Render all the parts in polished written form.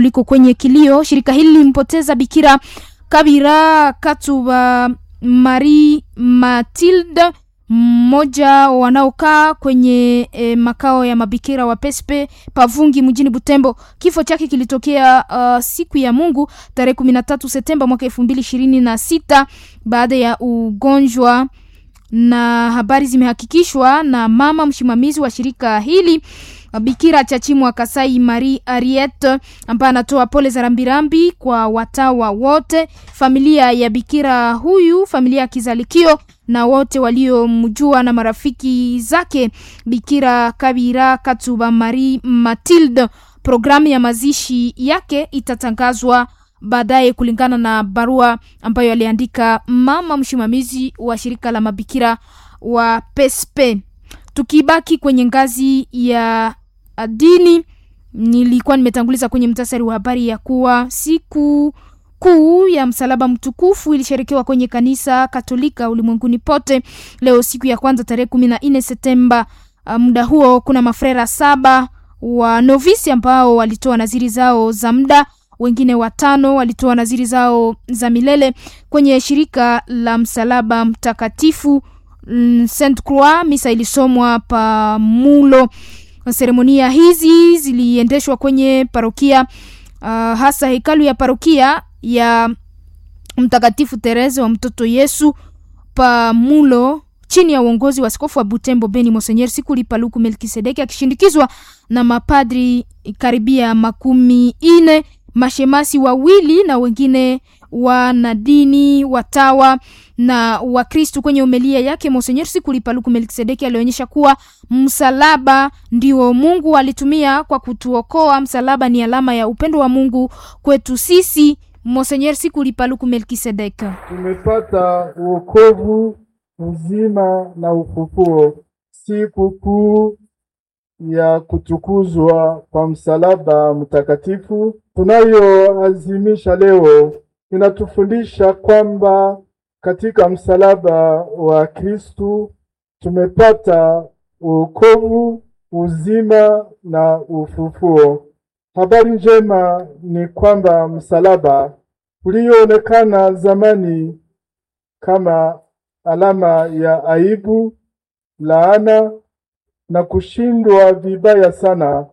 Liko kwenye kilio. Shirika hili lilimpoteza Bikira Kabira Katuba Marie Matilde, mmoja wanaokaa kwenye makao ya mabikira wa Pespe Pavungi mjini Butembo. Kifo chake kilitokea siku ya Mungu tarehe 13 Septemba mwaka 2026 baada ya ugonjwa, na habari zimehakikishwa na mama msimamizi wa shirika hili Bikira Chachimwa Kasai Marie Ariete ambaye anatoa pole za rambirambi kwa watawa wote, familia ya bikira huyu, familia ya Kizalikio na wote waliomjua na marafiki zake Bikira Kabira Katuba Marie Matilde. Programu ya mazishi yake itatangazwa baadaye kulingana na barua ambayo aliandika mama msimamizi wa shirika la mabikira wa Pespe. Tukibaki kwenye ngazi ya dini, nilikuwa nimetanguliza kwenye mtasari wa habari ya kuwa siku kuu ya msalaba mtukufu ilisherekewa kwenye kanisa Katolika ulimwenguni pote leo siku ya kwanza tarehe 14 Septemba. Muda huo kuna mafrera 7 wa novisi ambao walitoa naziri zao za muda, wengine 5 walitoa naziri zao za milele kwenye shirika la msalaba mtakatifu Saint Croix. Misa ilisomwa pamulo. Seremonia hizi ziliendeshwa kwenye parokia hasa hekalu ya parokia ya Mtakatifu Tereze wa Mtoto Yesu pamulo chini ya uongozi wa askofu wa Butembo Beni Monseigneur Sikuli Paluku Melkisedeki akishindikizwa na mapadri karibia 40, mashemasi 2 na wengine wanadini, watawa na Wakristu. Kwenye homilia yake Monseigneur Sikuli Paluku Melkisedeki alionyesha kuwa msalaba ndio Mungu alitumia kwa kutuokoa. Msalaba ni alama ya upendo wa Mungu kwetu sisi. Monseigneur Sikuli Paluku Melkisedeki: tumepata uokovu, uzima na ufufuo. Siku kuu ya kutukuzwa kwa msalaba mtakatifu tunayoazimisha leo inatufundisha kwamba katika msalaba wa Kristu tumepata wokovu, uzima na ufufuo. Habari njema ni kwamba msalaba ulioonekana zamani kama alama ya aibu, laana na kushindwa vibaya sana,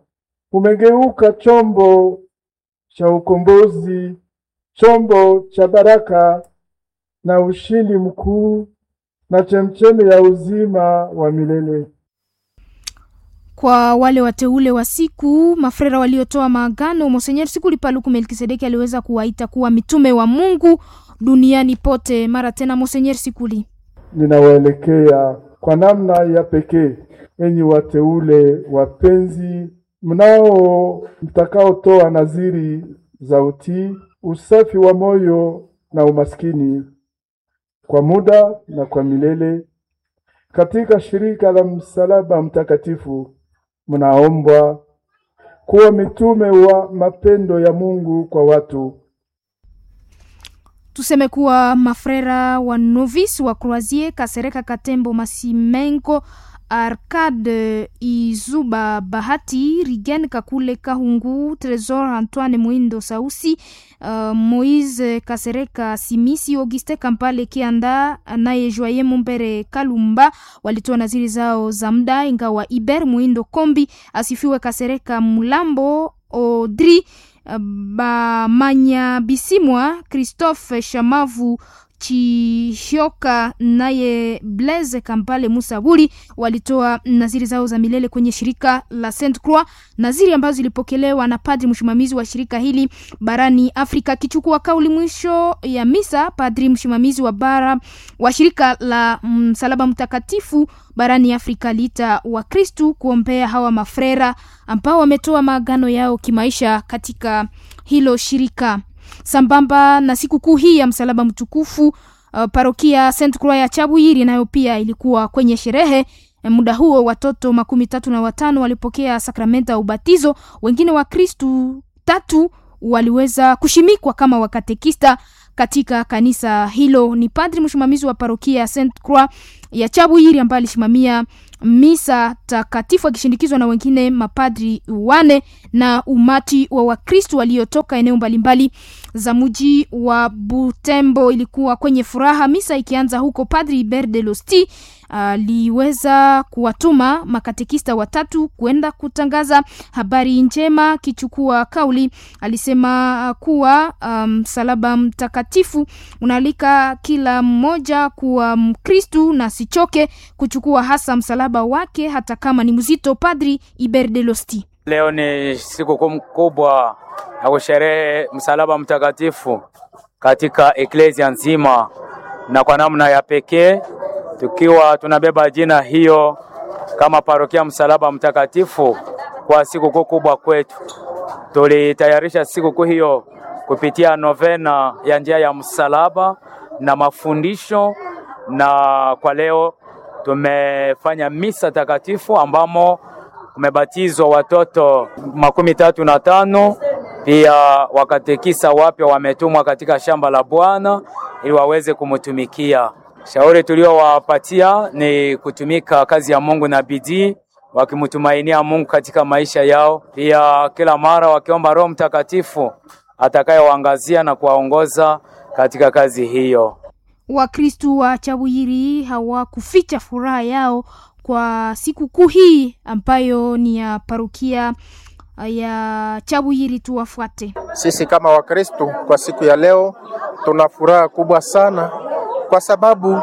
umegeuka chombo cha ukombozi, chombo cha baraka na ushindi mkuu na chemchemi ya uzima wa milele. Kwa wale wateule wa siku mafrera waliotoa maagano, Monseigneur Sikuli Paluku Melkisedeki aliweza kuwaita kuwa mitume wa Mungu duniani pote. Mara tena, Monseigneur Sikuli: ninawaelekea kwa namna ya pekee enyi wateule wapenzi, mnao mtakaotoa nadhiri za utii, usafi wa moyo na umaskini kwa muda na kwa milele katika shirika la msalaba mtakatifu, mnaombwa kuwa mitume wa mapendo ya Mungu kwa watu. Tuseme kuwa mafrera wa novice wa Croisier Kasereka Katembo Masimenko Arcade Izuba Bahati Rigen Kakule Kahungu Tresor Antoine Muindo Sausi Moise Kasereka Simisi Auguste Kampale Kianda naye Joye Mumbere Kalumba walitoa naziri zao za muda, ingawa Iber Muindo Kombi Asifiwe Kasereka Mulambo Audrey Bamanya Bisimwa Christophe Shamavu Chihyoka naye Blaise Kampale Musaburi walitoa naziri zao za milele kwenye shirika la Saint Croix, naziri ambazo zilipokelewa na padri msimamizi wa shirika hili barani Afrika. Akichukua kauli mwisho ya misa, padri msimamizi wa bara wa shirika la Msalaba Mtakatifu barani Afrika aliita Wakristu kuombea hawa mafrera ambao wametoa maagano yao kimaisha katika hilo shirika. Sambamba na sikukuu hii ya msalaba mtukufu, parokia Saint Croix ya Chabuyiri nayo pia ilikuwa kwenye sherehe. Muda huo watoto 35 walipokea sakramenta ya ubatizo, wengine Wakristu 3 waliweza kushimikwa kama wakatekista katika kanisa hilo. Ni padri msimamizi wa parokia ya Saint Croix ya Chabuyiri ambaye alisimamia misa takatifu akishindikizwa na wengine mapadri wane na umati wa Wakristu waliotoka eneo mbalimbali za mji wa Butembo. Ilikuwa kwenye furaha misa ikianza huko, Padri Hubert de Losti aliweza kuwatuma makatekista watatu kwenda kutangaza habari njema. Akichukua kauli, alisema kuwa msalaba mtakatifu unaalika kila mmoja kuwa Mkristu na sichoke kuchukua hasa msalaba wake hata kama ni mzito. Padri Hubert de Losti: Leo ni sikukuu kubwa ya kusherehe msalaba mtakatifu katika eklesia nzima, na kwa namna ya pekee tukiwa tunabeba jina hiyo kama parokia msalaba mtakatifu kwa sikukuu kubwa kwetu. Tulitayarisha sikukuu hiyo kupitia novena ya njia ya msalaba na mafundisho, na kwa leo tumefanya misa takatifu ambamo kumebatizwa watoto 35 pia wakatekisa wapya wametumwa katika shamba la Bwana ili waweze kumtumikia. Shauri tuliowapatia ni kutumika kazi ya Mungu na bidii, wakimtumainia Mungu katika maisha yao, pia kila mara wakiomba Roho Mtakatifu atakayewaangazia na kuwaongoza katika kazi hiyo. Wakristu wa Chawiri hawakuficha furaha yao kwa sikukuu hii ambayo ni ya parokia ya Chabuyiri. Tuwafuate. Sisi kama Wakristu kwa siku ya leo tuna furaha kubwa sana kwa sababu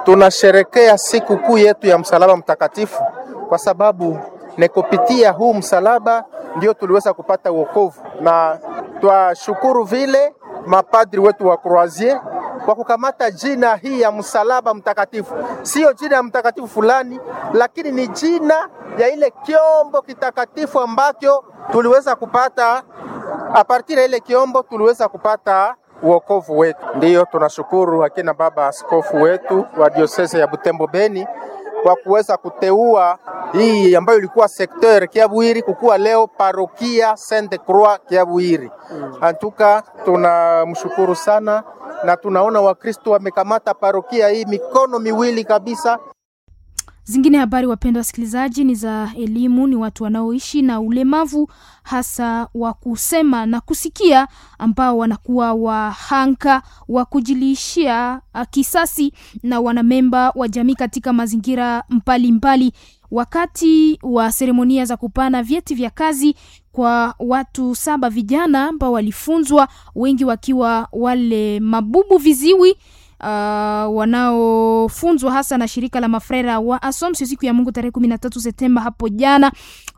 tunasherekea siku kuu yetu ya msalaba mtakatifu, kwa sababu ni kupitia huu msalaba ndio tuliweza kupata wokovu, na twashukuru vile mapadri wetu wa Croisier kwa kukamata jina hii ya msalaba mtakatifu, siyo jina ya mtakatifu fulani, lakini ni jina ya ile kiombo kitakatifu ambacho tuliweza kupata. A partir ya ile kiombo tuliweza kupata wokovu wetu. Ndiyo tunashukuru akina baba askofu wetu wa diosese ya Butembo Beni kwa kuweza kuteua hii ambayo ilikuwa sekteur Kiabwiri kukuwa leo parokia Sainte Croix Kiabwiri. Antuka tunamshukuru sana na tunaona Wakristo wamekamata parokia hii mikono miwili kabisa. Zingine habari, wapendwa wasikilizaji, ni za elimu. Ni watu wanaoishi na ulemavu hasa wa kusema na kusikia, ambao wanakuwa wahanga wa kujilishia kisasi na wanamemba wa jamii katika mazingira mbalimbali. Wakati wa seremonia za kupana vyeti vya kazi kwa watu 7 vijana ambao walifunzwa, wengi wakiwa wale mabubu viziwi wanaofunzwa hasa na shirika la mafrera wa Assumption siku ya Mungu tarehe 13 Septemba hapo jana,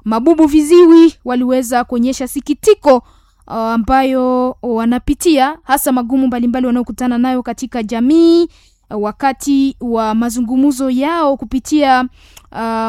mabubu viziwi waliweza kuonyesha sikitiko ambayo wanapitia hasa magumu mbalimbali wanaokutana nayo katika jamii wakati wa mazungumzo yao kupitia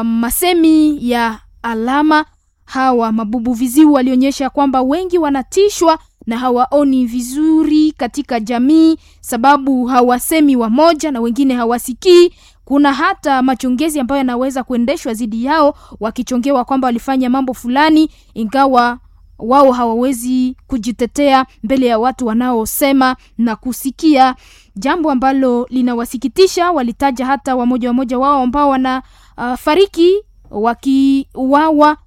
masemi ya alama. Hawa mabubu viziwi walionyesha kwamba wengi wanatishwa na hawaoni vizuri katika jamii, sababu hawasemi wamoja na wengine hawasikii. Kuna hata machongezi ambayo yanaweza kuendeshwa dhidi yao, wakichongewa kwamba walifanya mambo fulani, ingawa wao hawawezi kujitetea mbele ya watu wanaosema na kusikia, jambo ambalo linawasikitisha. Walitaja hata wamoja wamoja wao ambao wanafariki wakiuawa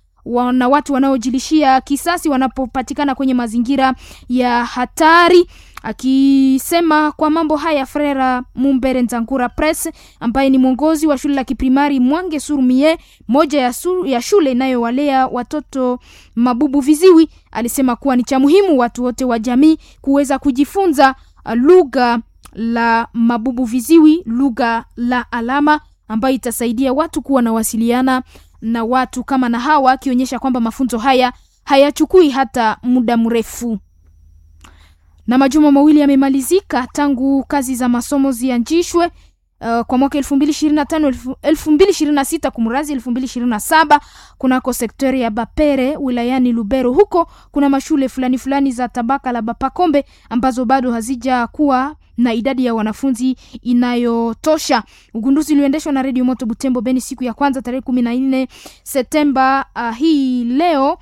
na watu wanaojilishia kisasi wanapopatikana kwenye mazingira ya hatari. Akisema kwa mambo haya, Frera Mumbere Nzangura Press ambaye ni mwongozi wa shule la kiprimari Mwange Surumie, moja ya shule inayowalea watoto mabubu viziwi, alisema kuwa ni cha muhimu watu wote wa jamii kuweza kujifunza lugha la mabubu viziwi, lugha la alama ambayo itasaidia watu kuwa na wasiliana na watu kama na hawa, akionyesha kwamba mafunzo haya hayachukui hata muda mrefu. Na majuma mawili yamemalizika tangu kazi za masomo zianzishwe kwa mwaka 2025 2026 kumrazi 2027 kunako sektori ya Bapere wilayani Lubero. Huko kuna mashule fulani fulani za tabaka la Bapakombe ambazo bado hazijakuwa na idadi ya wanafunzi inayotosha. Ugunduzi ulioendeshwa na Radio Moto Butembo Beni siku ya kwanza tarehe 14 Septemba hii leo.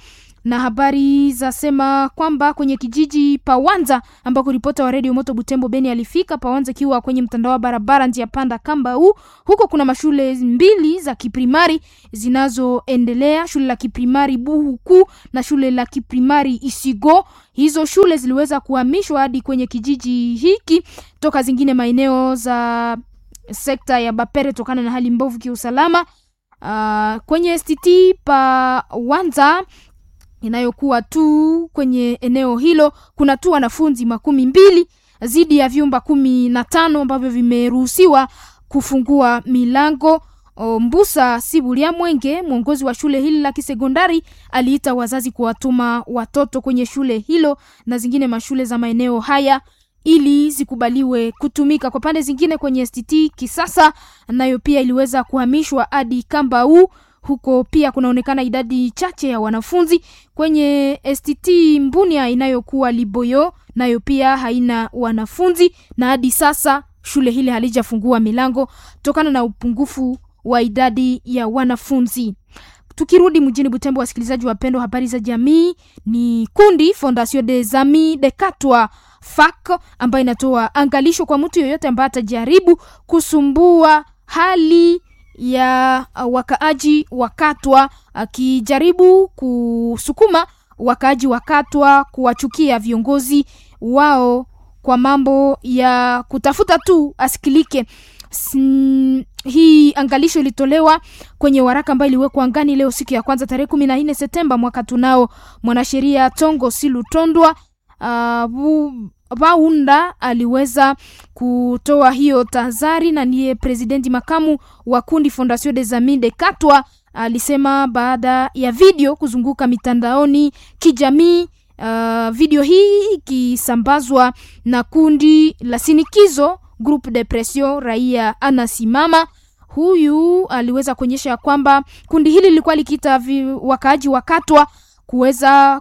Na habari zasema kwamba kwenye kijiji Pawanza ambako ripota wa redio Moto Butembo Beni alifika, Pawanza ikiwa kwenye mtandao wa barabara njia panda Kambau, huko kuna mashule mbili za kiprimari zinazoendelea, shule la kiprimari Buhuku na shule la kiprimari Isigo. Hizo shule ziliweza kuhamishwa hadi kwenye kijiji hiki toka zingine maeneo za sekta ya Bapere tokana na hali mbovu kiusalama. Kwenye STT Pawanza inayokuwa tu kwenye eneo hilo kuna tu wanafunzi 20 zidi ya vyumba 15 ambavyo vimeruhusiwa kufungua milango. Mbusa Sibulia Mwenge, mwongozi wa shule hili la kisekondari, aliita wazazi kuwatuma watoto kwenye shule hilo na zingine mashule za maeneo haya ili zikubaliwe kutumika. Kwa pande zingine, kwenye STT Kisasa nayo pia iliweza kuhamishwa hadi Kambau. Huko pia kunaonekana idadi chache ya wanafunzi. Kwenye STT Mbunia inayokuwa Liboyo nayo pia haina wanafunzi, na hadi sasa shule hili halijafungua milango tokana na upungufu wa idadi ya wanafunzi. Tukirudi mjini Butembo, wasikilizaji wapendwa, habari za jamii ni kundi Fondation des Amis de Katwa FAC ambayo inatoa angalisho kwa mtu yoyote ambaye atajaribu kusumbua hali ya wakaaji wa Katwa, akijaribu kusukuma wakaaji wa Katwa kuwachukia viongozi wao kwa mambo ya kutafuta tu asikilike. Hii angalisho ilitolewa kwenye waraka ambayo iliwekwa angani leo siku ya kwanza tarehe 14 Septemba mwaka tunao. Mwanasheria Tongo Silutondwa Baunda aliweza kutoa hiyo tahadhari na ndiye presidenti makamu wa kundi Fondation des Amis de Katwa alisema baada ya video kuzunguka mitandaoni kijamii. Video hii ikisambazwa na kundi la sinikizo Groupe de Pression Raia Anasimama. Huyu aliweza kuonyesha kwamba kundi hili lilikuwa likiita wakaaji wa Katwa kuweza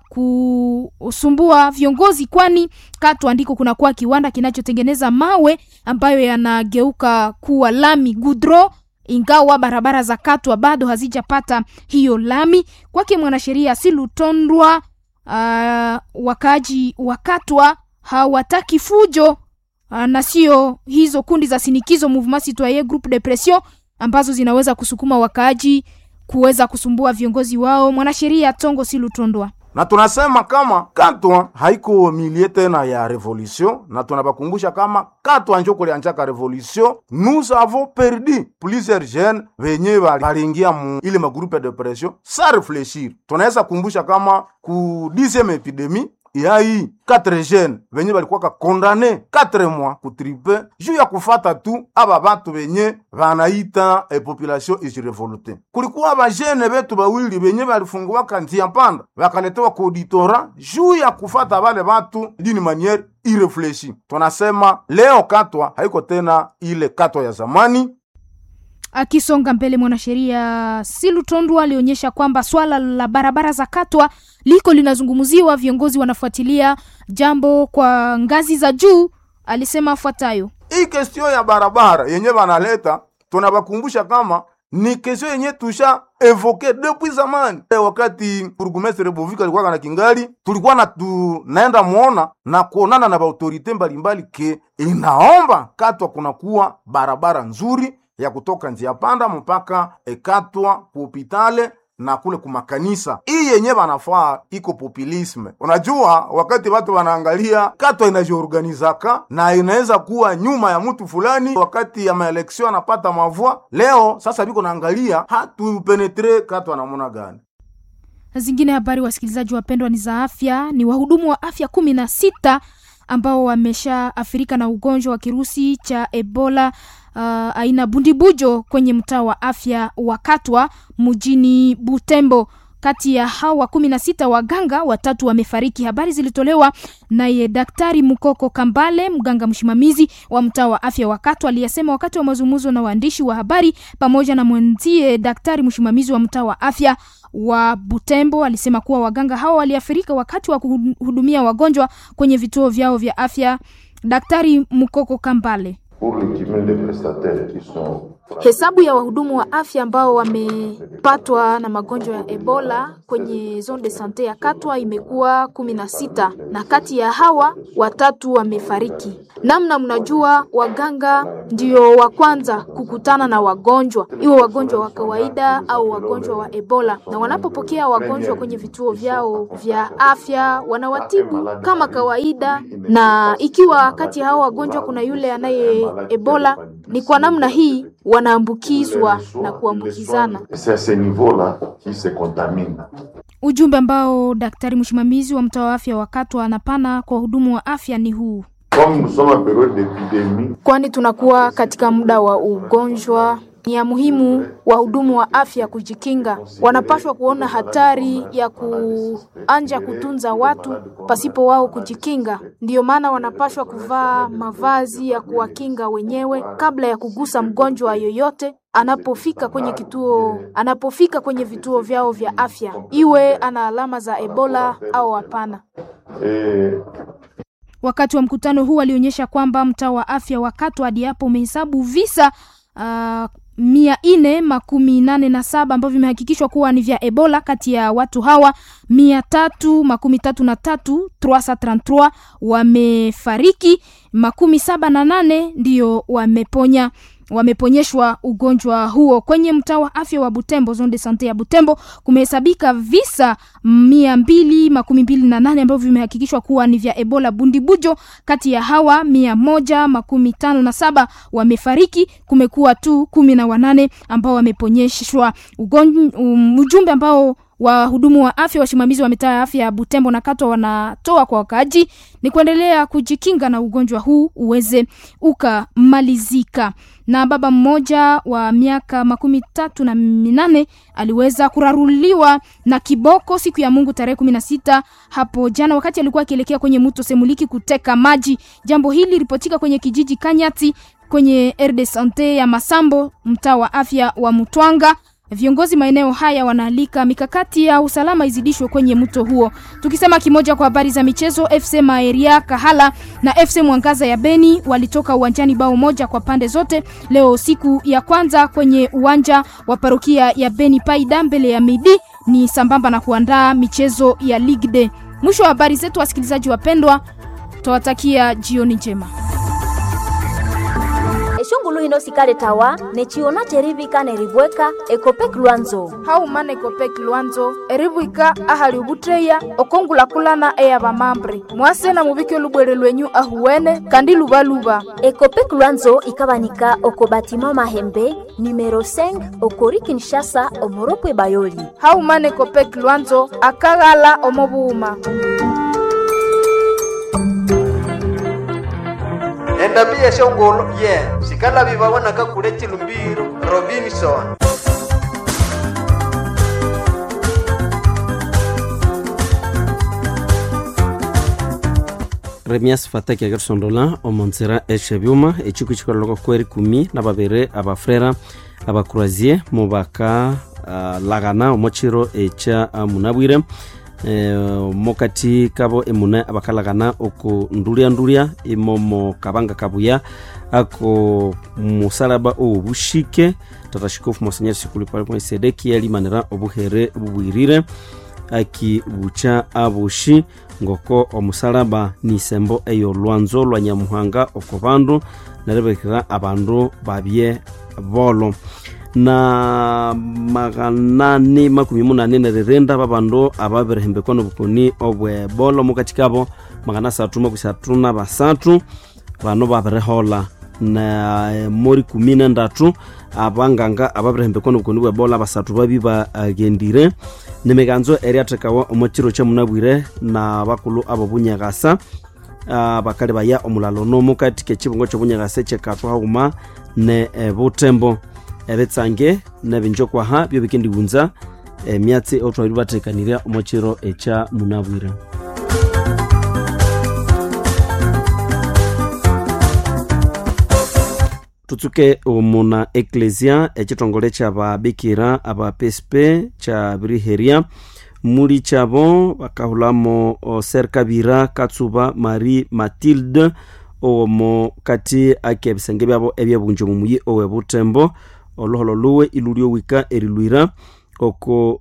kusumbua viongozi, kwani Katwa ndiko kunakuwa kiwanda kinachotengeneza mawe ambayo yanageuka kuwa lami gudro, ingawa barabara za Katwa bado hazijapata hiyo lami. Kwake mwanasheria Silutondwa, wakaaji wa Katwa hawataki fujo na sio hizo kundi za sinikizo Mouvement Citoyen Groupe de Pression ambazo zinaweza kusukuma wakaaji kuweza kusumbua viongozi wao. Mwanasheria Tongo Silutondwa: na tunasema kama Katwa haiko milie tena ya revolution, na tunabakumbusha kama Katwa njo kulianjaka revolution. Nous avons perdu plusieurs jeunes venye balingia mu ile magroupe de pression sans réfléchir. Tunaweza kumbusha kama ku 10e epidemie yai 4 jeunes venye balikuwaka kondane 4 mois kutripe juu ya kufata tu aba batu venye banaita e population ijirevolte. Kulikuwa ba jeune betu bawili venye balifunguwaka nzia mpanda bakaletewa ku auditora juu ya kufata bale batu d'une manière irréfléchie. Tunasema leo Katwa haiko tena ile Katwa ya zamani. Akisonga mbele, mwanasheria Silutondwa alionyesha kwamba swala la barabara za Katwa liko linazungumziwa, viongozi wanafuatilia jambo kwa ngazi za juu. Alisema afuatayo: hii kestio ya barabara yenye banaleta, tunabakumbusha kama ni kestio yenye tusha evoke depuis zamani. Wakati burgomestre Bovika alikuwa na kingali, tulikuwa na tunaenda muona na kuonana na baautorite mbalimbali, ke inaomba Katwa kunakuwa barabara nzuri ya kutoka njia panda mpaka ekatwa kuhopitale na kule kumakanisa. Hii yenye banafaa iko populisme. Unajua, wakati watu wanaangalia Katwa inajiorganizaka na inaweza kuwa nyuma ya mtu fulani, wakati ya maeleksio anapata mavua. Leo sasa biko naangalia hatupenetre Katwa namuna gani. Zingine habari, wasikilizaji wapendwa, ni za afya. Ni wahudumu wa afya 16 ambao wameshaathirika na ugonjwa wa kirusi cha Ebola aina bundibujo kwenye mtaa wa afya wa Katwa mjini Butembo. Kati ya hawa 16 waganga watatu wamefariki. Habari zilitolewa naye Daktari Mukoko Kambale, mganga msimamizi wa mtaa wa afya wa Katwa, aliyesema wakati wa mazungumzo na waandishi wa habari pamoja na mwenzie daktari msimamizi wa mtaa wa afya wa Butembo. Alisema kuwa waganga hao waliathirika wakati wa kuhudumia wagonjwa kwenye vituo vyao vya afya. Daktari Mukoko Kambale: Pour le cumul des prestataires qui sont Hesabu ya wahudumu wa afya ambao wamepatwa na magonjwa ya Ebola kwenye zone de sante ya Katwa imekuwa 16 na kati ya hawa 3 wamefariki. Namna mnajua, waganga ndio wa kwanza kukutana na wagonjwa, iwe wagonjwa wa kawaida au wagonjwa wa Ebola, na wanapopokea wagonjwa kwenye vituo vyao vya afya wanawatibu kama kawaida, na ikiwa kati ya hao wagonjwa kuna yule anaye Ebola, ni kwa namna hii wanaambukizwa na kuambukizana. Ujumbe ambao daktari msimamizi wa mtaa wa afya wa Katwa anapana kwa wahudumu wa afya ni huu. Kwani tunakuwa katika muda wa ugonjwa, ni ya muhimu wahudumu wa afya kujikinga. Wanapaswa kuona hatari ya kuanja kutunza watu pasipo wao kujikinga. Ndiyo maana wanapaswa kuvaa mavazi ya kuwakinga wenyewe kabla ya kugusa mgonjwa yoyote anapofika kwenye kituo, anapofika kwenye vituo vyao vya afya, iwe ana alama za Ebola au hapana. Wakati wa mkutano huu alionyesha kwamba mtaa wa afya wa Katwa hadi hapo umehesabu visa 487 ambavyo vimehakikishwa kuwa ni vya Ebola. Kati ya watu hawa 333 333 wamefariki, 78 ndiyo wameponya wameponyeshwa ugonjwa huo. Kwenye mtaa wa afya wa Butembo, zone de sante ya Butembo, kumehesabika visa 228 ambavyo vimehakikishwa kuwa ni vya Ebola Bundibujo. Kati ya hawa 157 wamefariki, kumekuwa tu 18 ambao wameponyeshwa ugonjwa. Ujumbe ambao wahudumu wa afya, wasimamizi wa mitaa ya afya ya Butembo na Katwa wanatoa kwa wakaaji ni kuendelea kujikinga na ugonjwa huu uweze ukamalizika. Na baba mmoja wa miaka 38 aliweza kuraruliwa na kiboko siku ya Mungu tarehe 16 hapo jana, wakati alikuwa akielekea kwenye mto Semuliki kuteka maji. Jambo hili ripotika kwenye kijiji Kanyati kwenye RD Sante ya Masambo, mtaa wa afya wa Mutwanga. Viongozi maeneo haya wanaalika mikakati ya usalama izidishwe kwenye mto huo. Tukisema kimoja kwa habari za michezo, FC Maeria Kahala na FC Mwangaza ya Beni walitoka uwanjani bao moja kwa pande zote leo siku ya kwanza kwenye uwanja wa parokia ya Beni Paida mbele ya Midi, ni sambamba na kuandaa michezo ya Ligue D. Mwisho wa habari zetu, wasikilizaji wapendwa, twawatakia jioni njema. Eshungulu hino sikale tawa nechiona cherivika neribweka ekopek lwanzo haumana ekopek lwanzo eribwika ahali ubutreya okongulakulana eya vamambre mwase na muvike lubwere lwenyu ahuwene kandi luvaluva. Ekopek lwanzo ikabanika oko batima mahembe numero 5 okori Kinshasa omoropwe bayoli. Haumana ekopek lwanzo akaghala omobuuma. Endabi yeshongolo ye sikala bibawonaka kule chilumbiro Robinson. Remias Fataki akerisondola omonzera eshebyuma echiku chikololoko kweri kumi na babiri abafrera abakurazie mubaka lagana omochiro echa munabwire mokati kabo emune abakalagana oku ndulia imomo kabanga kabuya ako musalaba obushike tata shikofu monsenyeri sikuli paliponi sedeki yalimanira obuhere bubwirire akibucha abushi ngoko omusalaba nisembo eyo lwanzo lwa nyamuhanga oko bandu nerebekera abandu babye bolo na 884 neririnda babandu ababirihembekwa nobukoni obwebola omukati kabo 333 bano babirihola na mori 13 abanganga ababirihembekwa nobukoni bwebola basathu babi bagendire nemiganzo eriathekawa omo kiro kyamunabwire na bakulu abo bunyakasa bakali baya omulalo nomukati kekibungo kyobunyakasa ekyekathwa haghuma ne butembo ebitsange nebinjokwaha byo bikendighunza emyatsi otwabiri bathekanirya omo kiro ekya munabwire. Tutsuke omuna eklesia ekitongole kyababikira aba PSP kyabiriherya muli kyabo bakahulamo Ser Kabira Katsuba Marie Mathilde omo kati ake ebisenge byabo ebyebunja omu muyi owe Butembo. Oloholo luwe ilulyowika erilwira oko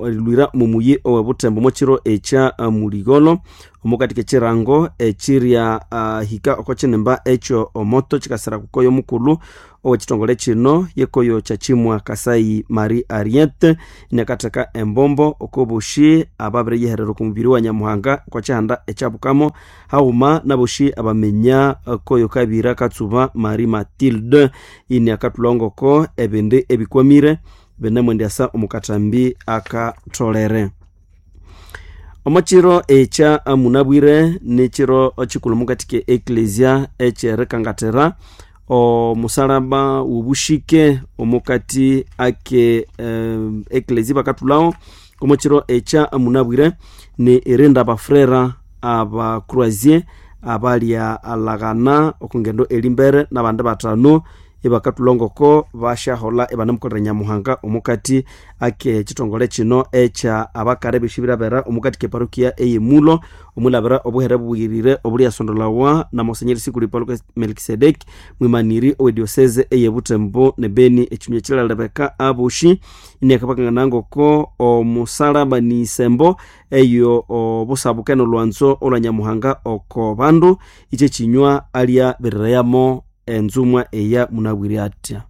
erilwira mumuyi owe Butembo mochiro ekya muligolo omukati kechirango ekirya hika oko kinimba ekyo omoto kikasira kukoyo mukulu owekitongole kino yekoyo kyakimwa Kasai Marie Ariete inakatheka embombo okoboshi ababiriyiherera oku mubiri wa Nyamuhanga okwa kihanda ekyabukamo haghuma naboshi abaminya koyo kabira Katsuba Marie Mathilde iniakathulhangoko ebindi ebikwamire binemwendyasa omukathambi akatholere. Omukiro ekya munabwire nikiro kikulhu mukati ke eklesia ekyerikangathira omusalaba wobushike omukati ake eklesia bakathulhawo omukiro ekya munabwire ni irinda abafrera abacroisier abalya alaghana okungendo elimbere nabandi bathanu ibakathulhangoko basyaholha ibanamukolera Nyamuhanga omukati ake kitongole kino ekya abakara ebishibirabera omukati keparokia eyemulo omwilabira obuhere bubuyirire obulyasondolawa na Monsenyeri Sikuli Paulo Melkisedeki mwimaniri owe diocese eye Butembo ne Beni. Ekinywa kilalebeka aboshi iniakabakangana ngoko omusalaba ni isembo eyo obusabuke nolwanzo olwa Nyamuhanga oko bandu ikyo kinywa alya birereyamo enzumwa eya munabwire atya.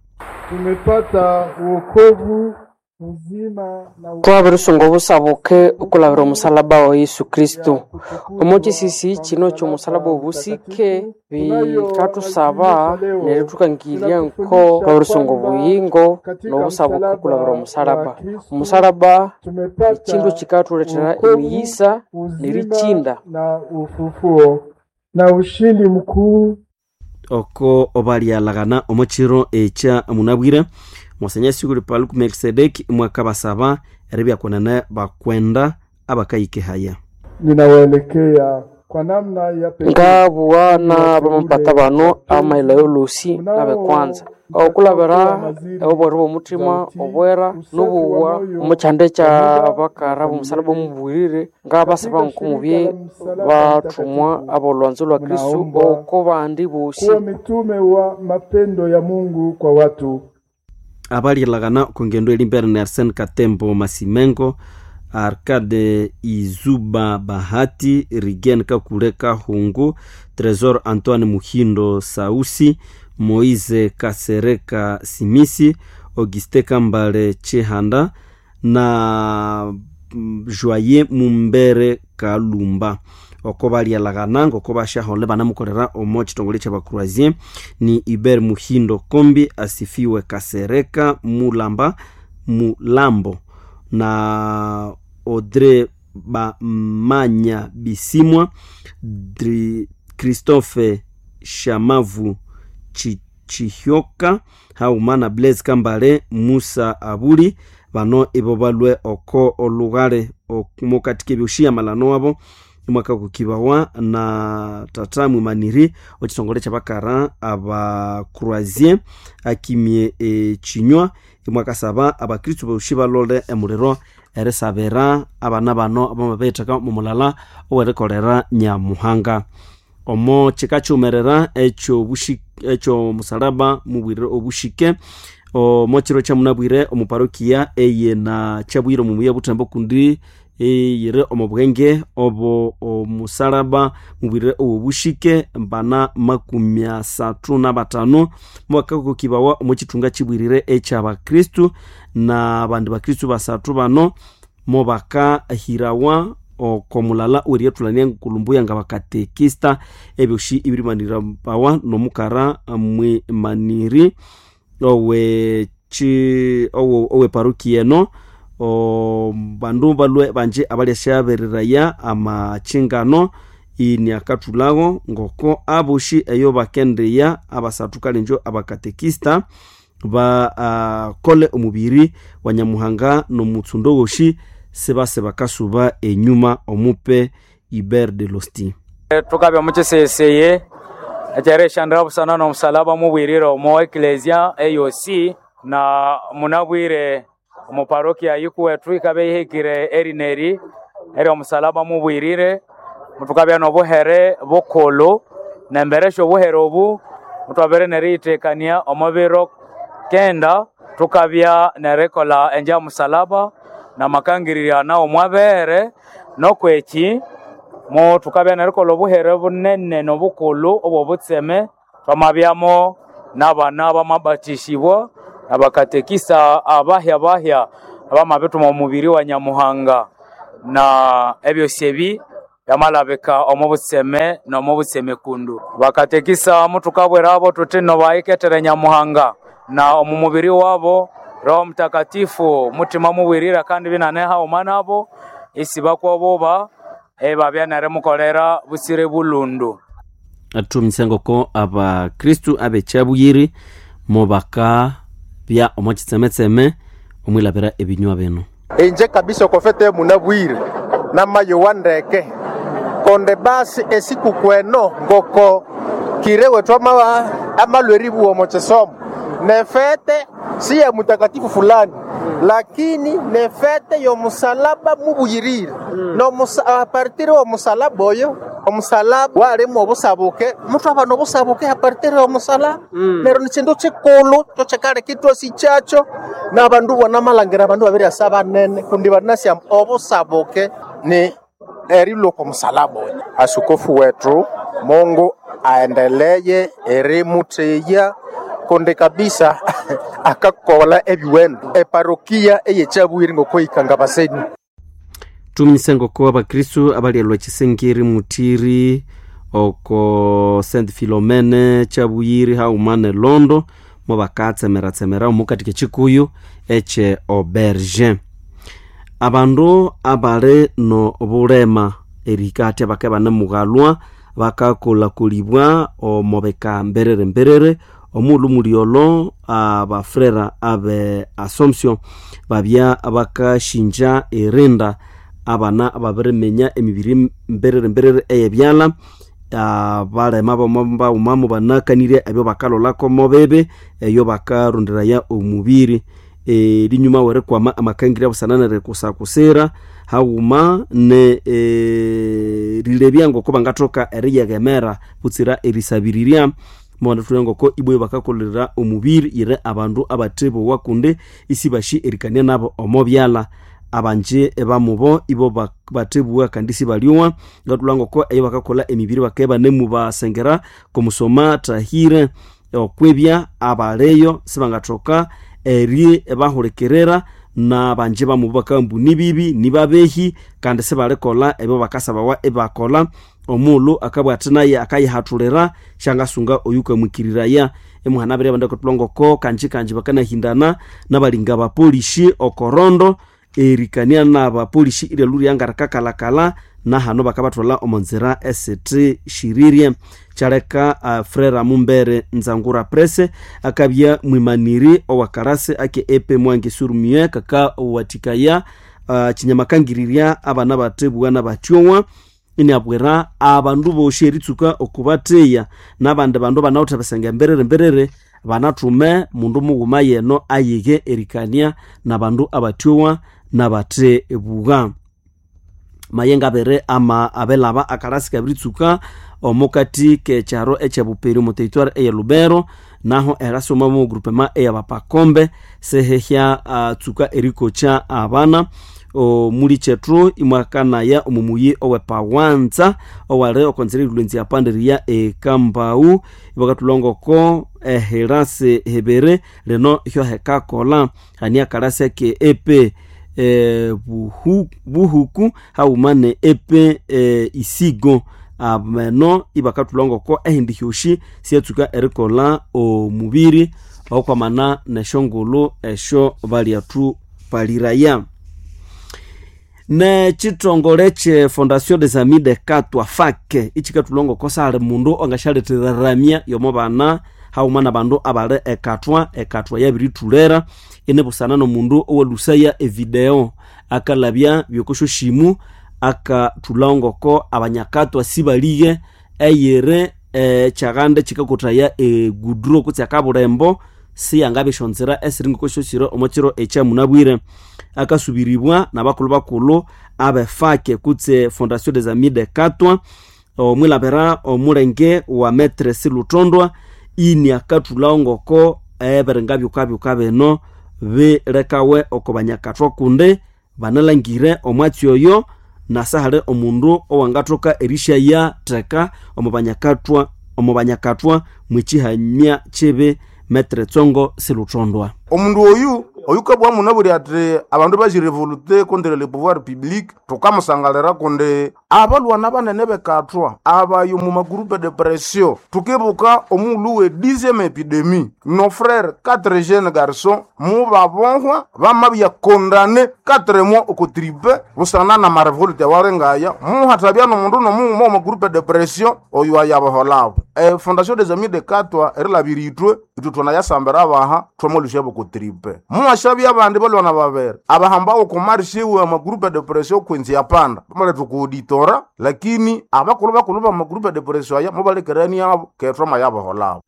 Tumepata wokovu uzima na Twabirisunga obusabuke okulabira omusalaba wa Yesu Kristo. Omo kisisi kino ky'omusalaba obusike bikathusaba neryo thukangirya nko twabirisunga obuyingo n'obusabuke okulabira omusalaba. Omusalaba ekindu kikathulethera emiyisa nerikinda na ufufuo na ushindi mkuu oko obalyalaghana omukiro ekya munabwire Monsenyeri Sikuli Paulo Melkisedeki mwakabasaba eribyakunene bakwenda abakayikehaya. Ninawaelekea kwa namna ya pekee Ngabuwa n'abamapata bano amaila yolosi n'abekwanza okulabira obwera bw'omuthima obwera n'obuwa omu kyanda ekyabakara b'omusalaba omubwirire ngabasaba nkumubye bathumwa abolwanzo lwa Kristo oko bandi bosi kuwa mitume wa mapendo ya Mungu kwa watu. Abalyalaghana okungendo elimbere ni Arsene Katembo Masimengo, Arcade Izuba Bahati, Rigen Kakule Kahungu, Tresor Antoine Muhindo Sausi, Moise Kasereka Simisi, Auguste Kambale Chihanda na Joye Mumbere Kalumba. Oko balyalaghana ngoko basyahole banamukolera omo kitongole ky'abacroisier ni Iber Muhindo Kombi, Asifiwe Kasereka Mulamba Mulambo na Audrey Bamanya Bisimwa, Christophe Shamavu Chihyoka hauma na Blaise Kambale Musa Abuli. Bano ibo balwe oko olughale mukati k'ebyoshi amalano wabo imwaka kukibawa na tata mwimaniri okitongole kyabakara abacroisier akimye ekinywa imwakasaba abakristu boshi balole emuliro erisabira abana bano abamabetheka mumulala owerikolera Nyamuhanga. Omo kikakyumerera ekyo musalaba mubwirire obushike omo kiro kyamunabwire omu parokia eye na kyabwire omu muya Butembo kundi eyiri omu bwenge obo omusalaba mubwirire owobushike mbana 35 mwakakokibawa omu kithunga kibwirire ekyabakristu na bandi bakristu basathu bano mobakahirawa okomulala weriyatulania nkulumbuya nga bakatekista ebyoshi ibirimanirabawa nomukara mwimaniri owe owe parokia eno bandu balwe banje abalyasyabereraya amachingano iniakathulhago ngoko aboshi eyo bakendeya abasathu kalenjo abakatekista bakole omubiri wa Nyamuhanga nomutsundo woshi sibase bakasuba enyuma omupe Iber de Losti. Tukabya mukiseseye ekyerishandira busana n'omusalaba mubwirire omo eklesia eyosi na munabwire omu parokia yikuwethu ikabya ihikire erineri eri omusalaba mubwirire mutukabya n'obuhere bukulhu nemberesya obuhere obu mutwabere neriyitekania omu biro kenda tukabya nerikola enja musalaba na makangirirya nawo mwabere nokweki mo tukabya nerikola obuhere bunene nobukulhu obwobutseme twamabyamo n'abana bamabatishibwa nabakatekisa abahya bahya abamabithuma omubiri wa Nyamuhanga na ebyosi ebi byamalabika omu butseme n'omu butseme kundu. Bakatekisa mutukabwirabo tuthi nobayikethere Nyamuhanga na omu mubiri wabo Roho Mtakatifu mutima mubwirira kandi binaneha haghuma nabo isi bakwobuba ebabya nerimukolera busire bulundu. Athumisya ngoko abakristu abekyabuyiri mubaka bya omo kitsemetseme omwilabira ebinywa bino. Inje kabisa okofete munabwire namayowa ndeke konde basi esikuku eno ngoko kirewe twama amalweribu omo kisomo nefete si ya mutakatifu fulani lakini nefete yomusalaba mubuyirire no apartir omusalaba oyo omusalaba walimu obusabuke muthu aba nobusabuke apartir omusalaba neryo nikindu kikulu kyokikaleka itwasi kyakyo nabandu bonamalhangira abandu babiryasa banene kundi banasya obusabuke ni erilwa oko musalaba oyo. Asukofu wetu Mungu aendeleye erimutheya kundi kabisa akakola ebiwendo eparokia eyekyabwire ngokweyikanga baseni. Tuminyise ngoko abakristu abalyalwa kisengeri mutiri oko Saint Philomene kyabuyiri haghuma ne Londo mubakatsemeratsemera omukati kekikuyu ekye auberge. Abandu abali no bulema erihika hathya bakabya banemughalwa bakakolhakolibwa omo bika mberere mberere omughulhu mulyolho abafrera abe Assumption babya bakashinja erinda abana ababiriminya emibiri mberere mberere eyebyalha abalema baghuma banakanirye ebyo bakalholako mobibi eyo bakaronderaya omubiri erinyuma werikwama amakangirya busana nerikusakusira haghuma ne erilebya ngoko bangathoka eriyeghemera butsira erisabirirya mubanathulha ngoko ibwe bakakolera omubiri yire abandu abathebowa kundi isibashi erikania nabo omo byalha abanji bamubo ibo bathebugha kandi isibalyowa ngathulha ngoko eyo bakakolha emibiri bakabya banemubasengera komusoma thahire okwibya abaleyo sibangathoka eri bahulikirira nabanji bamubo bakagamba nibibi nibabehi kandi sibalikolha ebyo bakasabawa ibakolha omughulhu akabugha athi naye akayihathulira syangasunga oyukamwikiriraya imuhana abiri abandu akathulha ngoko kanji kanji bakanahindana nabalinga abapolishi okorondo erikania nabapolishi iryalhu ryangarikakalhakalha nahano bakabathwalha omo nzira esithishirire kyaleka frera Mumbere Nzangura Prese akabya mwimaniri owakarasi ake epe Mwangi Surumie kakawathikaya kinyamakangirirya abana bathebugha nabathyowa iniabwira abandu bosi eritsuka okubatheya nabandi bandu banawithe ebisenge mberere mberere banathume mundu mughuma yeno ayighe erikania nabandu abathyowa nabathebugha. Mayenga abere ama abelaba akalasi kabiritsuka omukati kekyaro ekyebuperi omu territoire eye Lubero naho erasoma mu groupement eyabapakombe sehehya tsuka erikokya abana omuli kyethu imwakanaya omumuyi owepawanza owali okonzera erilwenzi yapanderiya ekambau ibakathulha ngoko ehirasi hibiri lino hyohekakolha hani akalasi ake epe buhuku haghuma ne epe isigo ameno ibakathulha ngoko ehindi hyosi syatsuka erikolha omubiri okwamana nesyongulhu esyo balyathu paliraya. Nekithongole kye Fondation des Amis de Katwa FAC ikikathulha ngoko sali mundu ongasyaletheraramya yomo bana haghuma nabandu abali ekatwa ekatwa yabirithulera inibusana nomundu owalhusaya evideo akalabya byokosyosyimu akathulha ngoko abanyakatwa sibalighe eyiri ekyaghanda kikakothaya egudro kutse akabulembo siyangabya esyonzira esiri ngoko syosire omo kiro ekyamunabwire akasubiribwa nabakulhu bakulhu abefake kutse Fondation des Amis de Katwa omwilabira omulenge wa Maître Siluthondwa ini akathulha ngoko ebiringa byukabyuka bino bilekawe oko banyakathwa kundi banalangire omwatsi oyo nasahali omundu owangathoka erishaya theka omu banyakathwa mwekyihamya kibi metre tsongo siluthondwa. Omundu oyu oyukabwa munabwire ati abandu bajirevolte contre le pouvoir public, tukamusangalira kundi abalwana banene bekathwa abayo mu magroupe de pression. Tukibuka omughulhu we 10e epidemie, nos frères 4 jeunes garçons mubabohwa bamabya condamné 4 mois oko tripe busana na marevolte awalengaya muhathabya nomundu nomughuma omu groupe de pression oyu ayabaholabo. Fondation des Amis de Katwa erilabira ithwe ithwe thwanayasambira abaha thwamalusya boko tripe. Muwashabya abandi balwana babere abahambawo kumarshiwe amagroupe de pression kwinzi yapanda bamaletha kuuditora, lakini abakulhu bakulhu bamagroupe de pression aya mubalekerani abo kethwa mayabaholabo.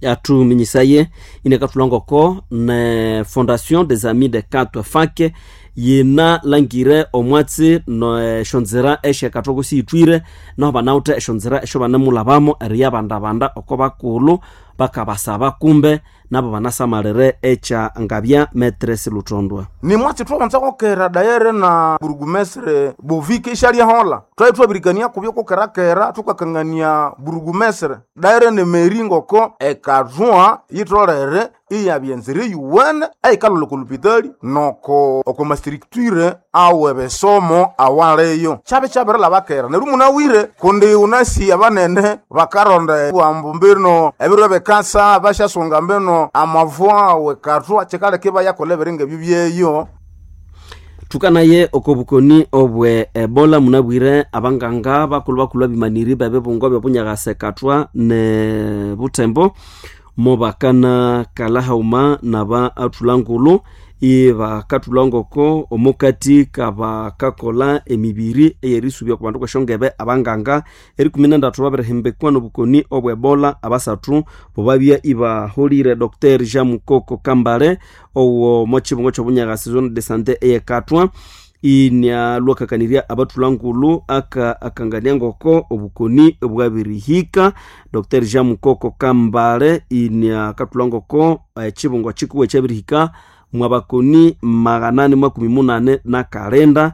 Atuminyisaye inekathulangoko ne Fondation des Amis de Katwa fake yina langire omwatsi neshonzera eshekathwa kusiyithwire naho banawuthe eshonzera esho banemulhabamo eriyabandabanda oko bakulhu bakabasaba kumbe nabo banasamalire ekya ngabya metre siluthondwa. Ni mwatsi thwabanza kokera dayere na burugumestre Bovike ishalyahola twali twabirikania kubyo kokerakera thukakangania burugumestre dayere ne meri ngoko ekathwa yitholere iyabya enzira eyuwene eyikalholha oko lupitali noko oko mastructure awe besomo awaleyo. Kyabe kyabirilhabakera neryo munawire kundi unasi abanene bakaronda bwambu mbino ebiro ebikasa basyasunga mbino amavwa wekathwa kyikaleka ibayakolha ebiringa ebyo byeyo. Thukanaye oko bukoni obwe Ebola munabwire abanganga bakulhu bakulhu abimaniri bebibungo byobunyakasa ekathwa ne Butembo mobakana kalahauma naba athulangulu ibakathulha ngoko omukati kabakakola emibiri eyerisubya ku bandu kweshongebe abanganga erikumi nendatu babirihimbikwa nobukoni obwe Ebola abasathu bobabya ibaholire. Dr Jean Mukoko Kambale owo mochibungo kyobunyakasi zone de sante eyekathwa inyalwakakanirya abathulangulu aka akangania ngoko obukoni bwabirihika. Dr Jean Mukoko Kambale inyakathula ngoko ekibungo kikuwa ekyabirihika mwabakoni 889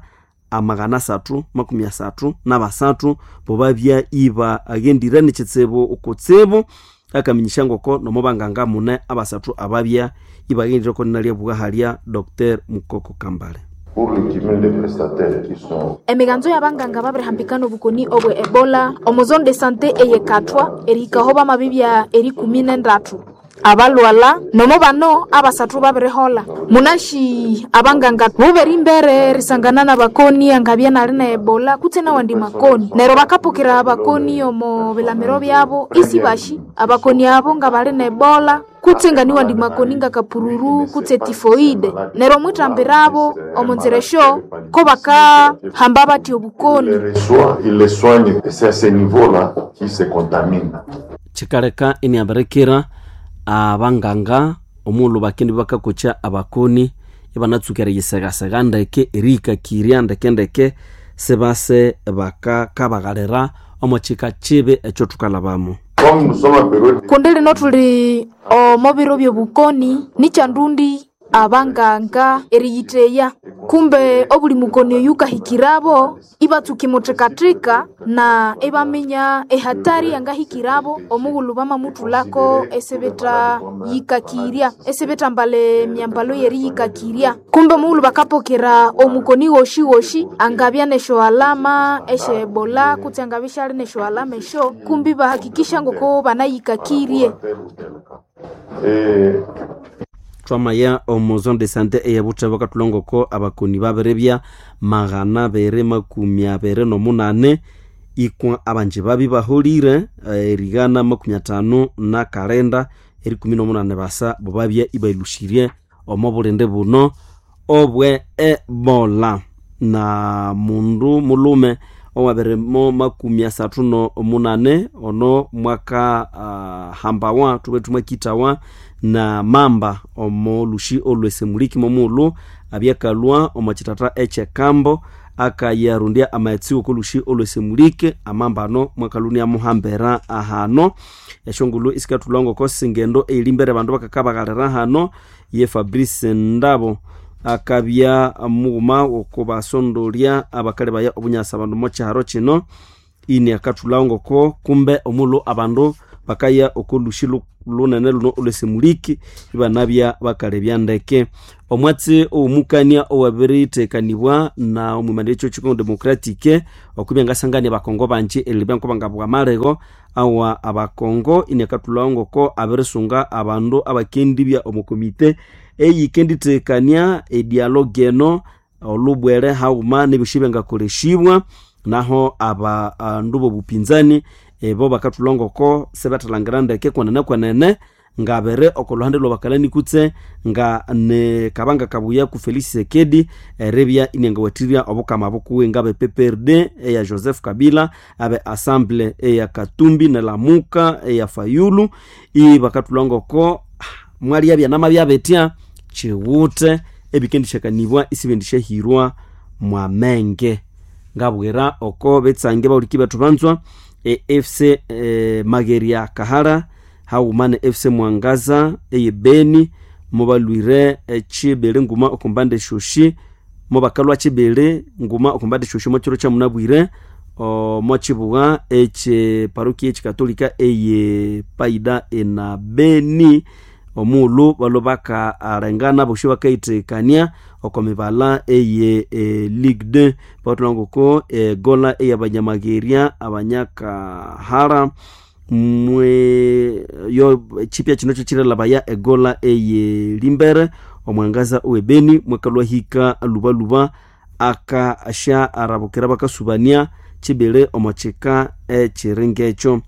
333 bobabya iba aghendire nekitsibu okutsibu akaminyisha ngoko nomubanganga mune abasathu ababya ibaghendire konalya bwahalya Dr Mukoko Kambale. Pour le cumul des prestataires qui sont Emiganzo y'abanganga babirihambikana obukoni obwe Ebola omu zone de sante eyekathwa erihikaho bamabibya erikumi nendatu abalwala nomo bano abasathu babirihola. Munashi abanganga buberi imbere erisangana nabakoni angabya nali na Ebola kutse nawandi makoni neryo bakapokera abakoni omo bilamiro byabo isi bashi abakoni abo nga bali na Ebola kutse nga niwandi makoni nga kapururu kutse tifoide neryo mwithambirabo omo nzira esyo ko bakahamba bathi obukoni. les reçoit, il les soigne et c'est à ce niveau-là qu'ils se contaminent. Kikaleka iniabirikira abanganga omughulhu bakindi bakakokya abakoni ibanatsuka eriyisegasega ndeke erihikakirya ndekendeke sibase bakakabaghalira omo kika kibi ekyo thukalhabamo. Comme nous sommes en période Kundi lino thuli omo biro byobukoni nikyandundi abanganga eriyitheya kumbe obuli mukoni oyu ukahikirabo ibatsuka imuthikathika na ibaminya ehatari yangahikirabo omughulhu bamamuthulako esibitha yikakirya esibithambala emyambalo yeriyikakirya kumbe omughulhu bakapokera omukoni woshi woshi angabya nesyo alama esye Ebola kutse angabya isyali nesyo alama esyo kumbi bahakikisha ngoko banayikakirye. Et Twamaya omu zone de sante eyebuthebo kathulongoko abakoni babiribya 228 ikwa abanji babi baholire erigana 59 eri18 basa bobabya ibailushirye omo bulindi buno obwe Ebola. Na mundu mulume owabirimo 38 ono mwaka hambawa thube thumwakithawa na mamba omo lushi olwesemuliki momughulhu abyakalwa omo kithatha ekyekambo Akayarundya amaghetse wokolushi olwesemulike amambano mwakaluni muhambera ahano. Eshongulu isikathulwa ngoko singendo eyilimbere abandu bakakabaghalira hano. Ye Fabrice Ndabo akabya mughuma wokubasondolya abakali baya obunyasa abandu mokyiharo kino. Ini akathulhawo ngoko kumbe omulhu abandu bakaya okolushi lunene luno olwesemuliki ibanabya bakalebya ndeke. Omwatsi owomukania owabirithekanibwa na omwimanire ekyo Congo Democratic okubya ngasangania abakongo banji erilebya nko bangabugha amalego awa abakongo. Ini akathulhawo ngoko abirisunga abandu abakendibya omo komite eyikendithekania edialogue eno olubwere haghuma nebyosi ebyangakolesibwa. Naho abandu b'obupinzani ebo bakathulha ngoko sibethalhangira ndeke kwenene kwenene ngabere okoluhande lwabakalani kutse nga ne kabanga kabuya ku Felix Tshisekedi eribya inyangawathirya obukama bukuwe ngabe PPRD eya Joseph Kabila, abe Assemble eya Katumbi ne Lamuka eya Fayulu. Ibakathulha ngoko mwalya byanama byabetya kiwuthe ebikendishakanibwa isibendishahirwa mwamenge. Ngabwira oko betsange bahuliki bethu banzwa e FC Mageria Kahara haghuma ne FC Mwangaza eye Beni mubalwire chibili nguma okumbande shoshi mubakalwa chibili nguma okumbande shoshi mochiro kya munabwire omochibugha eche parokia echikatolika eye Paida ena Beni. Omughulhu balwe bakalengana bosi bakayithekania oko mibala eye Ligue 2. Bathulha ngoko egola eyabanyamageria abanyakahara mwe yo chipya kino kyo egola eye Limbere omwangaza owebeni mwakalwa hika lubaluba akasha arabukira bakasubania chibili omochika echiringa ekyo.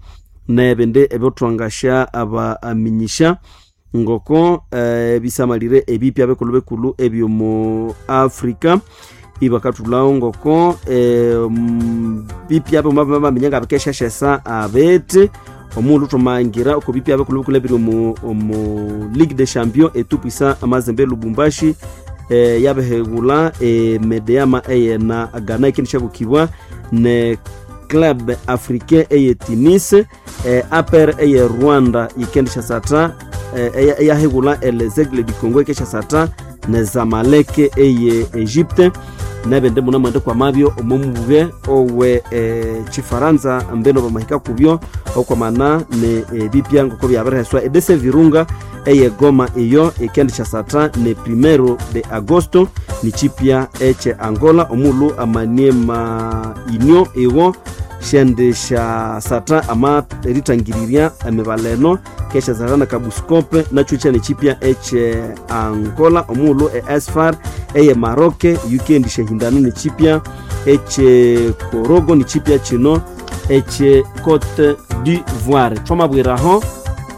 Nebindi ebyothwangasha abaminyisha ngoko ebisamalire ebipya bikulu bikulu ebyomu Afrika ibakathulhawo ngoko bipya bamaminya nga bikesheshesa abete omundu thumangira oko bipya bikulu bikulu ebiri omu Ligue des Champions etupwisa amazembe Lubumbashi yabihighulha Medeama eyena Ghana ikendishabukibwa ne Club Africain eye Tunis, APR eye Rwanda ikendishasatha eyahigulha Les Aigles du Congo ikeshasatha ne Zamalek eye Egypte. Nebindi muna mwende kwamabyo omomubwe owe chifaransa mbeno bamahika kubyo okwamana ne bipya ngoko byabiriheswa edese Virunga eye Goma iyo ikendishasatha ne 1 de agosto ni chipya eche Angola. Omulhu amaniema inyo iwo shendishasatha ama eritangiriria emibala eno keshasatha na Kabuscope nakyo kyane chipya eche Angola. Omulhu e Esfar eye Maroc yukendishahindana ne chipya eche Korogo ni chipya kino eche Cote d'Ivoire. Thwamabwiraho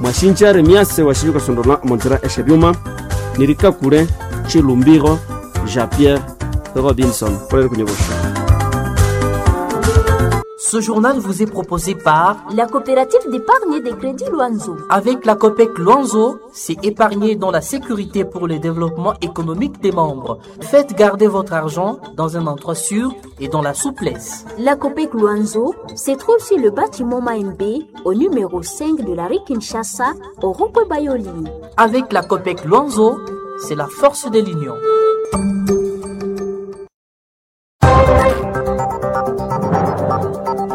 mwashinja Remiase washinja ukasondola omonzira eshebyuma nirikakule Chilumbiro Jean Pierre Robinson polere kunyobosha. Ce journal vous est proposé par la coopérative d'épargne et de crédit Luanzo. Avec la COPEC Luanzo, c'est épargner dans la sécurité pour le développement économique des membres. Faites garder votre argent dans un endroit sûr et dans la souplesse. La COPEC Luanzo se trouve sur le bâtiment Maembe, au numéro 5 de la rue Kinshasa, au rond-point Bayoli. Avec la COPEC Luanzo, c'est la force de l'union.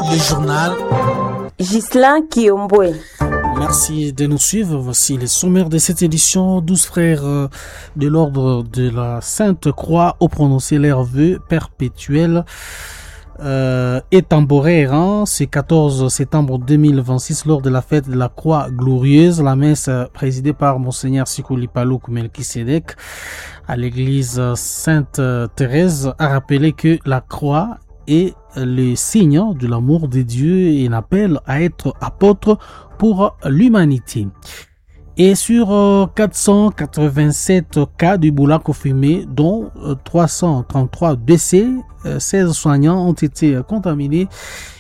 Le journal Ghislain Kiombwe. Merci de nous suivre. Voici les sommaires de cette édition. 12 frères de l'ordre de la Sainte Croix ont prononcé leur vœu perpétuel et temporaire, hein, ce 14 septembre 2026 lors de la fête de la Croix Glorieuse. La messe présidée par Monseigneur Sikuli Paluku Melkisedek à l'église Sainte-Thérèse a rappelé que la croix est le signe de l'amour de Dieu et un appel à être apôtre pour l'humanité. Et sur 487 cas d'Ebola confirmés, dont 333 décès, 16 soignants ont été contaminés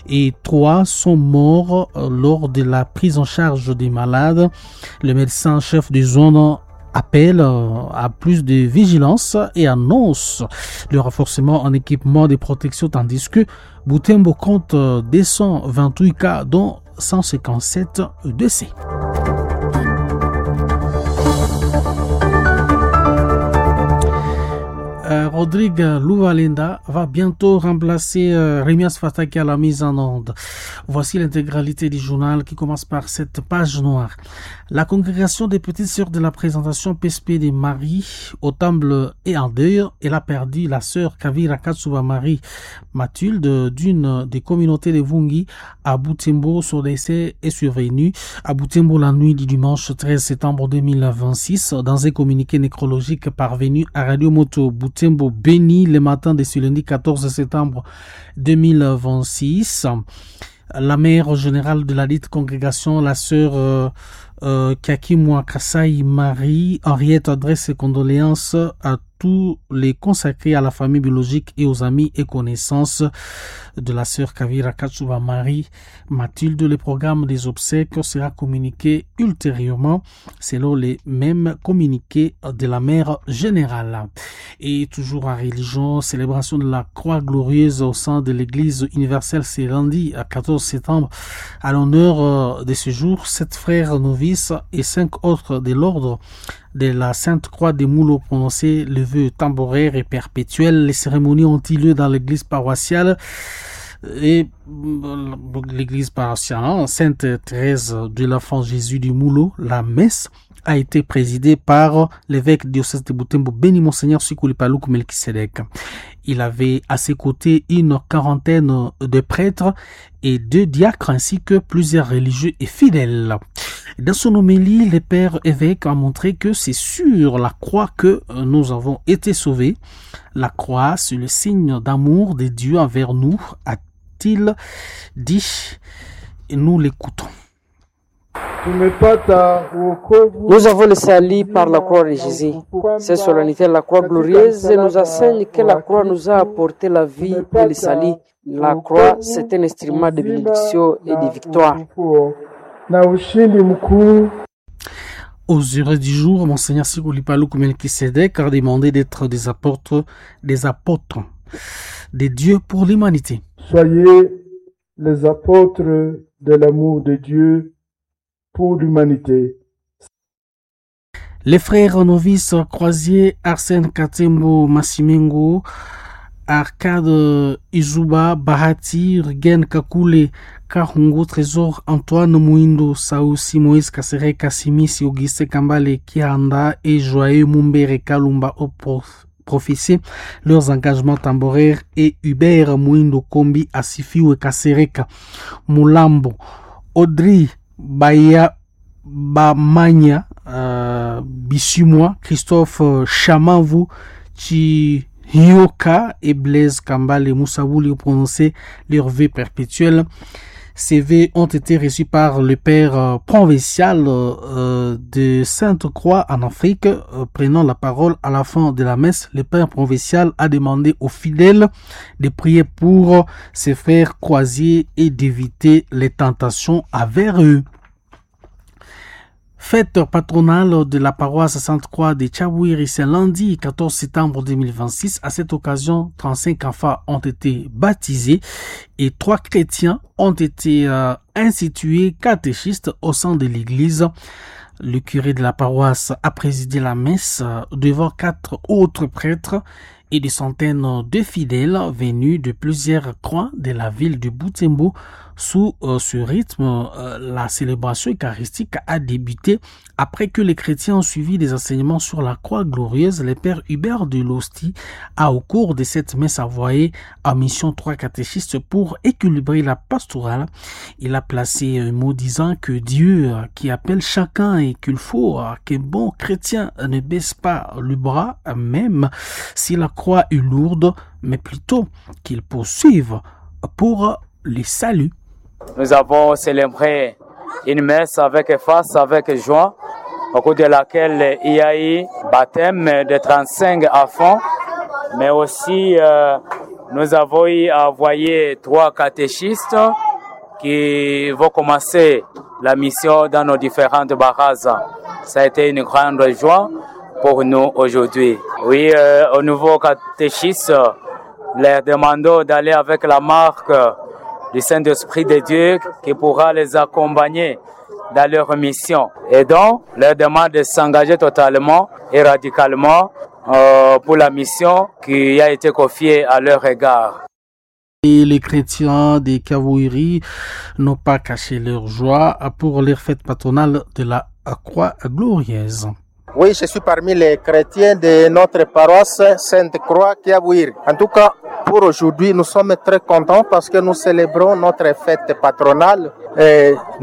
et 3 sont morts lors de la prise en charge des malades. Le médecin chef de zone appelle à plus de vigilance et annonce le renforcement en équipement de protection, tandis que Butembo compte 228 cas, dont 157 décès. Rodrigue Louvalenda va bientôt remplacer Remias Fataki à la mise en onde. Voici l'intégralité du journal qui commence par cette page noire. La congrégation des petites sœurs de la présentation PSP de Marie au temple et en deuil, elle a perdu la sœur Kavira Katsuba Marie Mathilde d'une des communautés de Vungi à Butembo. Son décès est survenu à Butembo la nuit du dimanche 13 septembre 2026. Dans un communiqué nécrologique parvenu à Radio Moto Butembo Béni le matin de ce lundi 14 septembre 2026. La mère générale de la dite congrégation, la sœur Kakimwa Kasai Marie Henriette, adresse ses condoléances à tous les consacrés à la famille biologique et aux amis et connaissances de la sœur Kavira Katsuba Marie Mathilde. Le programme des obsèques sera communiqué ultérieurement selon les mêmes communiqués de la mère générale. Et toujours en religion, célébration de la Croix glorieuse au sein de l'église universelle s'est lundi à 14 septembre. À l'honneur de ce jour, 7 frères novices et 5 autres de l'ordre de la Sainte Croix des Moulots prononcé le vœu temporaire et perpétuel. Les cérémonies ont eu lieu dans l'église paroissiale et l'église paroissiale Sainte Thérèse de l'Enfant Jésus du Moulot. La messe a été présidée par l'évêque diocèse de Butembo, béni Monseigneur Sikuli Paluku Melkisedek. Il avait à ses côtés une quarantaine de prêtres et 2 diacres ainsi que plusieurs religieux et fidèles. Dans son homélie, le père évêque a montré que c'est sur la croix que nous avons été sauvés. La croix, c'est le signe d'amour de Dieu envers nous, a-t-il dit. Et nous l'écoutons. Nous avons le salut par la croix de Jésus. Cette solennité de la croix glorieuse nous enseigne que la croix nous a apporté la vie et le salut. La croix, c'est un instrument de bénédiction et de victoire. Aux heures du jour, Monseigneur Sikuli Paluku Melkisedek a demandé d'être des apôtres de Dieu pour l'humanité. Soyez les apôtres de l'amour de Dieu pour l'humanité. Les frères novices croisiers Arsène Katembo Massimengo, Arcade Izuba Bahati, Rugen Kakule Kahungu Trésor, Antoine Muindo Saoussi, Moïse Kassere Kassimisi, Auguste Kambale Kianda et Joyeux Mumbere Kalumba au professé leurs engagements temporaires et Hubert Muindo Kombi Asifiwe Kasereka Mulambo, Audrey Baya Bamanya Bissumwa, Christophe Chamavu Chihioka et Blaise Kambale Moussaouli ont prononcé leur vœu perpétuel. Ces vœux ont été reçus par le père provincial de Sainte-Croix en Afrique. Prenant la parole à la fin de la messe, le père provincial a demandé aux fidèles de prier pour ses frères croisiers et d'éviter les tentations envers eux. Fête patronale de la paroisse Sainte-Croix de Tchabouiri, c'est lundi 14 septembre 2026. À cette occasion, 35 enfants ont été baptisés et 3 chrétiens ont été institués catéchistes au sein de l'église. Le curé de la paroisse a présidé la messe devant 4 autres prêtres et des centaines de fidèles venus de plusieurs coins de la ville de Butembo. Sous ce rythme, la célébration eucharistique a débuté après que les chrétiens ont suivi des enseignements sur la croix glorieuse. Le père Hubert de Losti a, au cours de cette messe, envoyé en mission 3 catéchistes pour équilibrer la pastorale. Il a placé un mot disant que Dieu qui appelle chacun et qu'il faut qu'un bon chrétien ne baisse pas le bras, même si la croix est lourde, mais plutôt qu'il poursuive pour le salut. Nous avons célébré une messe avec face, avec joie, au cours de laquelle il y a eu baptême de 35 enfants, mais aussi nous avons eu à envoyer 3 catéchistes qui vont commencer la mission dans nos différentes barazas. Ça a été une grande joie pour nous aujourd'hui. Oui, au nouveau catéchisme, leur demandons d'aller avec la marque du Saint-Esprit de Dieu qui pourra les accompagner dans leur mission. Et donc, leur demande de s'engager totalement et radicalement pour la mission qui a été confiée à leur égard. Et les chrétiens des Kawiri n'ont pas caché leur joie pour leur fête patronale de la Croix Glorieuse. Oui, je suis parmi les chrétiens de notre paroisse Sainte-Croix Kiabouir. En tout cas, pour aujourd'hui, nous sommes très contents parce que nous célébrons notre fête patronale. Et